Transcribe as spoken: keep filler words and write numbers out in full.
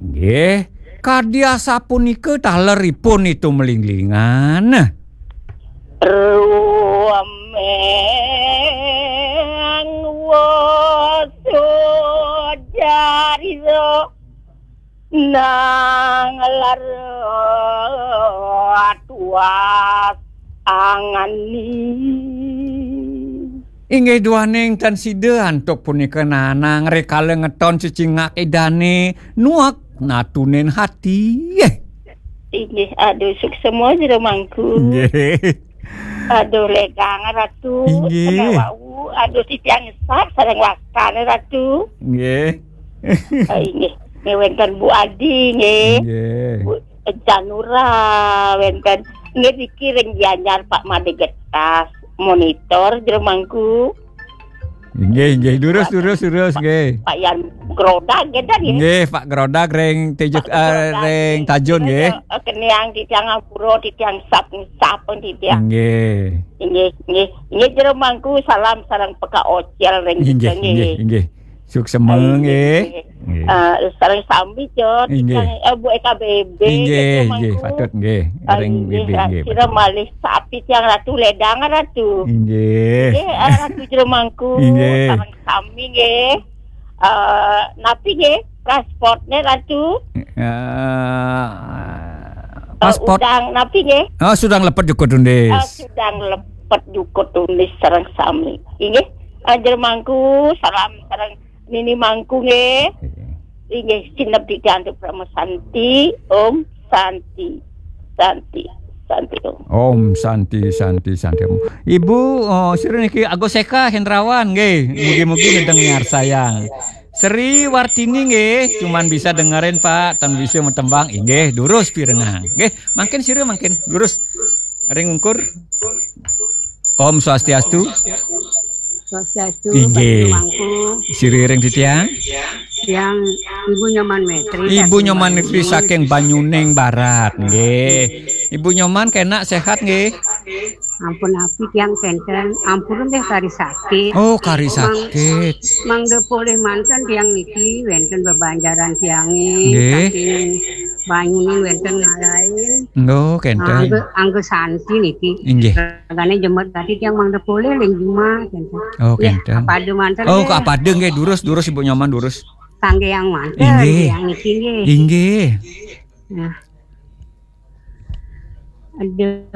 Nggih, kadi asapunika taleripun Nitu Melinglingan. Ruameng wosodariso nang lar tuas angani. Inggih duaning tan sida antuk punika nanang rikala ngeton cecingak idane nuek natunin hati. Inggih, aduh, suksema jero mangku. Nggih. Aduh, ledang Ratu. Inggih. Kena wau. Aduh, titiang nyesat sareng wastan Ratu. Nggih. Ah, inggih. Nggih, wenten Bu Adi, nggih. Nggih. Bu Janura, wenten. Nggih, niki ring Gianyar Pak Made Getas, monitor jero mangku. Inggih, inggih. Durus, durus, durus, nggih. Pak Yan Grodag, nggih, nggih. Nggih, Pak Grodag ring Tejuk, Pak eh, Grodag, ring nggih. Tajun, nggih. Eh, keniang titiang ampura, titiang sap, sap, titiang. Nggih. Inggih, inggih. Inggih, jero mangku, salam sareng P K Ocel ring Inggih, kita, nggih. Inggih, inggih. Suksema, ah, inggih, nggih. Inggih. Nggih. Ah, sareng sami, Cot. Inggih. Sareng, eh, Bu E K B B, inggih, nggih, inggih, mangku. Patut, nggih. Ah, ring inggih, B B, nggih, sira patut. Malih sapi tiang Ratu ledang, Ratu. Inggih. Nggih, ah, Ratu jero mangku. Inggih. Sareng sami, nggih. Eh, napi, nggih? Transportnya, Ratu? Eh, eh, paspor. Udang, napi, nggih? Oh, sudang lepet jukut undis. Eh, sudang lepet jukut undis sareng sami. Inggih. Eh, jero mangku, salam sareng Nini Mangku nggih. Inggih, sineb titiang antuk Parama Santi. Om Santi. Santi. Santi Om. Om Santi, Santi, Santi Om. Ibu, oh, sira niki Agus Eka Hendrawan nggih. Mugi-mugi nedeng miarsayang. Sri Wartini nggih, cuman bisa dengerin Pak, tan bisa metembang. Inggih, durus pirengang. Nggih, mangkin sira mangkin durus. Ring ungkur. Om Swastiastu. Swastiastu, inggih. Mangku. Siriring titiang. Yang Ibu Nyoman Metri. Ibu Nyoman Metri saking Banyuning Barat, nggih. Ibu Nyoman kenak sehat nggih? Ampun api tiang kenten, ampun deh kari sakit. Oh, kari sakit. Mangda polih manten tiang niki wenten bebanjaran tiange. Nggih. Saking Banyuning wenten ngalain. Nggih, kenten. Angga, angga santi niki. Inggih. Ragane jemet gati tiang mangda polih ling jumah kenten. Oh, kenten. Kapada manten. Oh, nggih. Kapada nggih, durus, durus Ibu Nyoman, durus. Kangge yang manten, inggih. Yang niki nggih. Inggih. Nah. Durusang